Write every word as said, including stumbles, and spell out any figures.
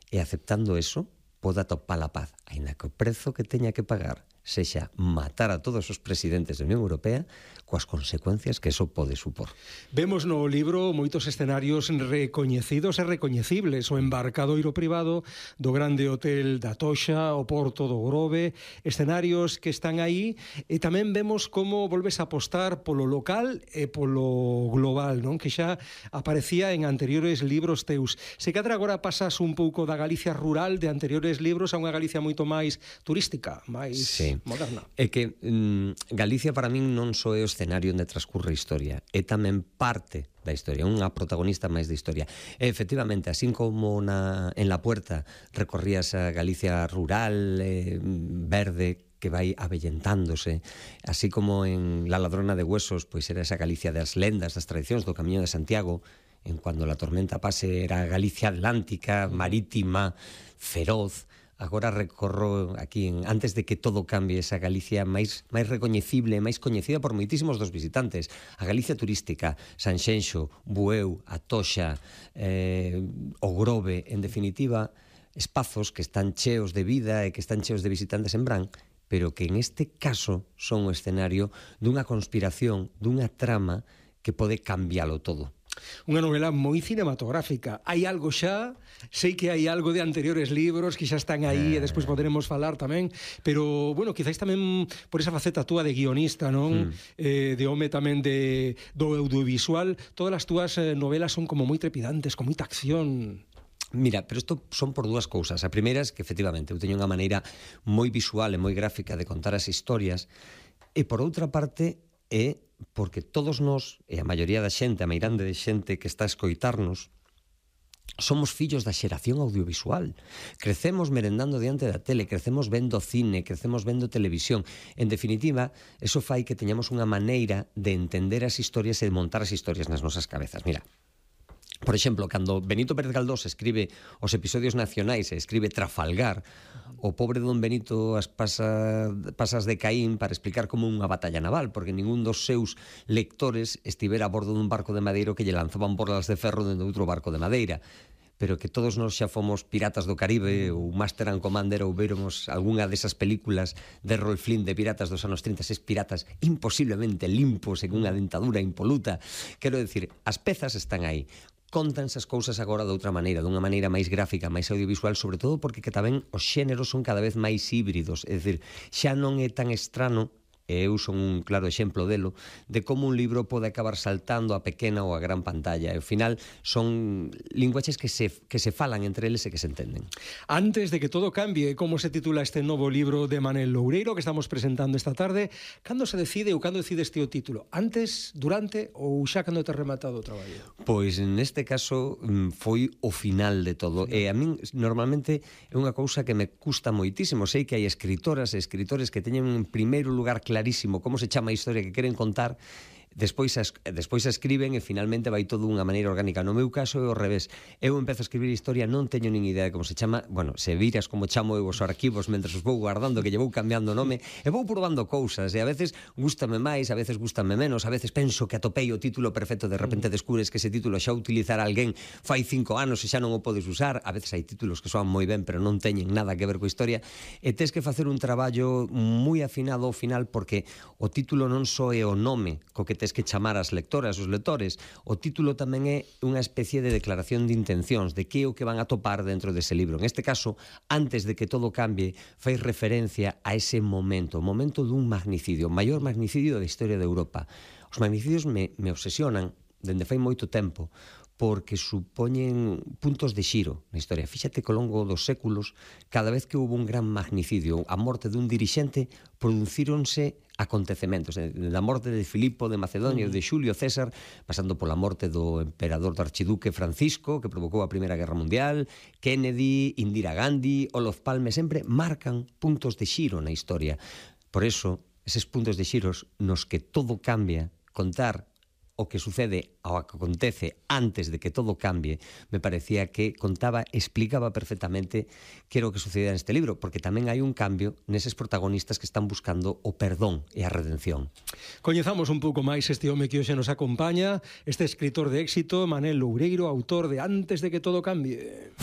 e aceptando eso poda topar a paz, aínda que o prezo que teña que pagar sexa matar a todos os presidentes da Unión Europea coas consecuencias que eso pode supor. Vemos no libro moitos escenarios recoñecidos e recoñecibles, o embarcadoiro privado do grande hotel da Toxa, o porto do Grove, escenarios que están aí, e tamén vemos como volves a apostar polo local e polo global, non? Que xa aparecía en anteriores libros teus. Se cadra agora pasas un pouco da Galicia rural de anteriores libros a unha Galicia moito máis turística, máis sí. moderna. É que mm, Galicia para min non só é o escenario onde transcurre a historia, é tamén parte da historia, unha protagonista máis da historia. E, efectivamente, así como na, en La Puerta recorrías a Galicia rural, eh, verde, que vai avellentándose, así como en La Ladrona de Huesos, pois era esa Galicia das lendas, das tradicións do Camiño de Santiago, en Cuando la tormenta pase era Galicia atlántica, marítima, feroz. Agora recorro aquí, en, antes de que todo cambie, esa Galicia máis, máis recoñecible, máis coñecida por moitísimos dos visitantes. A Galicia turística, Sanxenxo, Bueu, a Toxa, eh, o Grove, en definitiva, espazos que están cheos de vida e que están cheos de visitantes en Brán, pero que en este caso son o escenario dunha conspiración, dunha trama que pode cambiálo todo. Unha novela moi cinematográfica. Hai algo xa, sei que hai algo de anteriores libros que xa están aí eh... e despois poderemos falar tamén, pero, bueno, quizáis tamén por esa faceta túa de guionista, non? Mm. Eh, de home tamén de, do audiovisual, todas as túas eh, novelas son como moi trepidantes, con moita acción. Mira, pero isto son por dúas cousas. A primeira é que, efectivamente, eu teño unha maneira moi visual e moi gráfica de contar as historias, e por outra parte é porque todos nós, e a maioría da xente, a meirande de xente que está a escoitarnos, somos fillos da xeración audiovisual. Crecemos merendando diante da tele, crecemos vendo cine, crecemos vendo televisión. En definitiva, eso fai que teñamos unha maneira de entender as historias e de montar as historias nas nosas cabezas. Mira, por exemplo, cando Benito Pérez Galdós escribe os episodios nacionais e escribe Trafalgar, o pobre don Benito as pasa, pasas de Caín para explicar como unha batalla naval, porque ningún dos seus lectores estivera a bordo dun barco de madeiro que lle lanzaban borlas de ferro dentro de outro barco de madeira. Pero que todos nós xa fomos piratas do Caribe ou Master and Commander ou veremos algunha desas películas de Rolf Flynn de piratas dos anos trinta, es piratas imposiblemente limpos e cunha dentadura impoluta. Quero decir, as pezas están aí. Contanse as cousas agora de outra maneira, dunha maneira máis gráfica, máis audiovisual, sobre todo porque que tamén os xéneros son cada vez máis híbridos, é dicir, xa non é tan estrano, e eu son un claro exemplo delo, de como un libro pode acabar saltando a pequena ou a gran pantalla, e ao final son linguaxes que se, que se falan entre eles e que se entenden. Antes de que todo cambie, como se titula este novo libro de Manel Loureiro que estamos presentando esta tarde, cando se decide ou cando decide este o título? Antes, durante ou xa cando te rematado o traballo? Pois neste caso foi o final de todo, e a min normalmente é unha cousa que me custa moitísimo. Sei que hai escritoras e escritores que teñen en primeiro lugar claro clarísimo como se chama a historia que queren contar, despois a, despois a escriben e finalmente vai todo dunha maneira orgánica. No meu caso é ao revés. Eu empezo a escribir historia, non teño nin idea de como se chama. Bueno, se viras como chamo eu os arquivos mentre os vou guardando, que lle vou cambiando o nome, e vou probando cousas, e a veces gústame máis, a veces gústame menos, a veces penso que atopei o título perfecto, de repente descubres que ese título xa utilizara alguén fai cinco anos e xa non o podes usar. A veces hai títulos que soan moi ben, pero non teñen nada que ver coa historia, e tes que facer un traballo moi afinado ao final, porque o título non só é o nome co que tes que chamar as lectoras, os lectores. O título tamén é unha especie de declaración de intencións, de que é o que van a topar dentro dese libro. En este caso, antes de que todo cambie, fai referencia a ese momento, o momento dun magnicidio, o maior magnicidio da historia de Europa. Os magnicidios me, me obsesionan dende fai moito tempo, porque supoñen puntos de xiro na historia. Fíxate que ao longo dos séculos, cada vez que houve un gran magnicidio, a morte dun dirixente, producíronse acontecementos, da morte de Filipo de Macedonia, de Xulio César, pasando pola morte do emperador do archiduque Francisco, que provocou a Primeira Guerra Mundial, Kennedy, Indira Gandhi, Olof Palme, sempre marcan puntos de xiro na historia. Por eso, eses puntos de xiros nos que todo cambia, contar o que sucede ao que acontece antes de que todo cambie, me parecía que contaba, explicaba perfectamente que era o que sucedía neste libro, porque tamén hai un cambio neses protagonistas que están buscando o perdón e a redención. Coñezamos un pouco máis este home que hoxe nos acompaña, este escritor de éxito, Manel Loureiro, autor de Antes de que todo cambie.